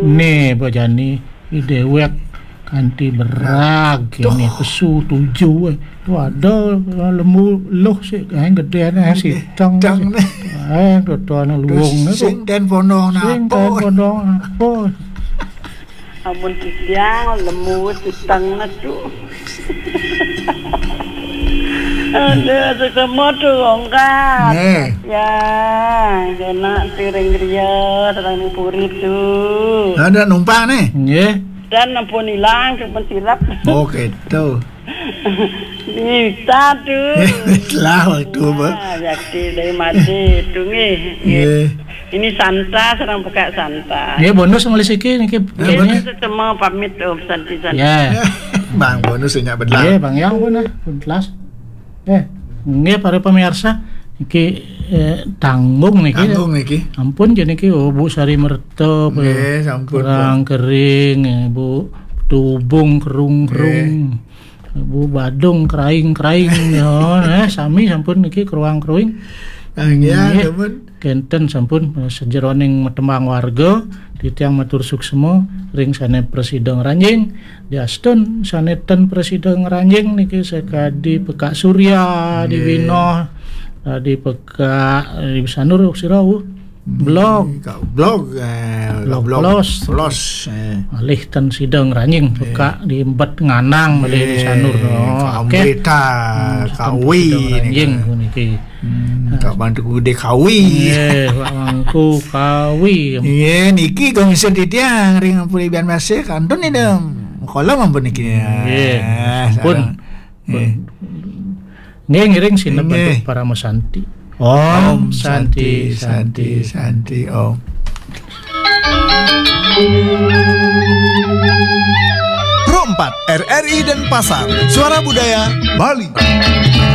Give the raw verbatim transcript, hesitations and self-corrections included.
Né, Mbok Jani, i déwék kanti berag, kéné pesu tujuh, eh. Tuh ada lemu luh sik, eh, gedé, eh, siteng. Siteng, sik. Né. Eh, tuh, tuh, anak luwung, né, sing tuh. Ten pondong. Sing napo. Ten pondong napo. Amun titiang lemu wis siteng, né, tuh. Aduh, sesama tuh, ongkat. Nggih. Ya, enak tiring griya, sareng ning puri tuh. Ada numpang nih. Nggih. Dan ampun ilang, cuma sirap. Oh, gitu. Bisa tuh. Lah, waktu apa? Ah, yakti dari mati, tuh, nggih. Nggih. Nggih. Ini Santa, sareng pekak Santa. Nggih, bonus ngelis iki, niki. Ya, ini bonus. Sesama pamit, Om Santi, Santi. Ya. Bang, bonus senya belah. Nggih, Bang, ya, ampun, ah, pun telas. Eh, nggih, para pemirsa, iki, eh, tanggung niki. Tanggung niki. Ampun, jadi niki, oh, Bu Sari Merta, nggih, sampun, kurang Bu. Kering, eh, Bu Tubung, kerung-kerung. Nggih. Bu Badung, keraing-keraing, ya, eh, sami sampun niki, keruang-keruing. Ah, nggih, nggih. Sampun. Kénten sampun, eh, sajeroning matembang warga, titiang matur suksma ring sané prasida ngranjing, diastun sané ten prasida ngranjing niki sakadi Pekak Surya, nggih. Di Winoh, eh, di Pekak, eh, di Sanur, sira, uh, blog. Kak blog, eh, blog, blog plus. Plus, eh. Malih ten sida ngranjing, nggih. Pekak di Embet Nganang, malih di, nggih. Sanur, no. Kak oké. Amrita, hmm, Kak ten Wi, sida ngranjing niki. Niki. Hmm, nah, Kak Bantu Gede Kawi. Nggih, Pak Mangku Kawi. Nggih, niki kok ngisor titiang ring ampuri bian masih kantun nih, Dem. Kolom ampun niki. Nggih, eh, ampun. Sareng. Nggih. Nggih, ngiring sineb, nggih. Antuk Parama Santi. Om Santi, Santi, Santi, Santi, Om. Pro empat, R R I Denpasar, Suara Budaya Bali.